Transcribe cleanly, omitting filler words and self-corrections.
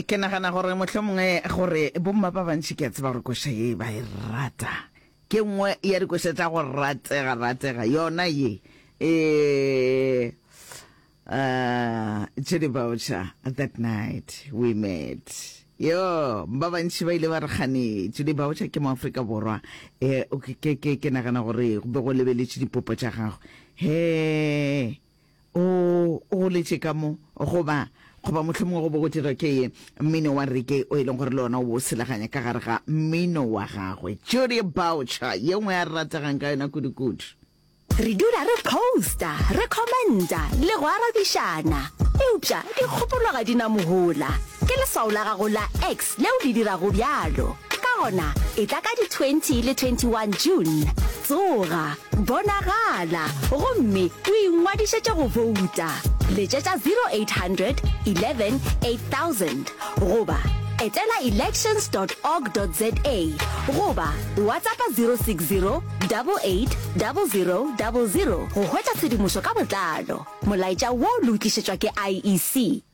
Ke nagana gore mohlomongwe gore bomma ba bantši ke a tseba gore koša ye ba e rata. Ke nngwe ya dikoša tša go ratega ratega yona ye. Eh uh, Judy Boucher, that night we met. Yo, ba bantši ba ile ba re kgane Judy Boucher ke mo Afrika Borwa. Eh ke ke ke nagana gore go be go lebeletše dipopo tša gagwe. He O o goletše ka mo, goba, goba mohlomongwe go be go dirwa ke mmino wa reggae o e leng gore le ona o bo o selaganya ka gare ga mmino wa gagwe. Judy Boucher, ye nngwe a re rategang ka yona kudu-kudu. Re dula re posta, re commenta le go arabišana, eupša dikgopolo ga di na mohola. Ke leswao la gago la X leo le dirago bjalo. Ka gona, etla ka di 20 le 21 June. Tsoga, bonagala, gomme o ingwadišetše go bouta. Letšetša 0800 11 8000 goba etela elections dot org dot za goba WhatsAppa 060 88 00 00 go hwetša tshedimošo ka botlalo. Molaetša wo le o tlišetšwa ke IEC.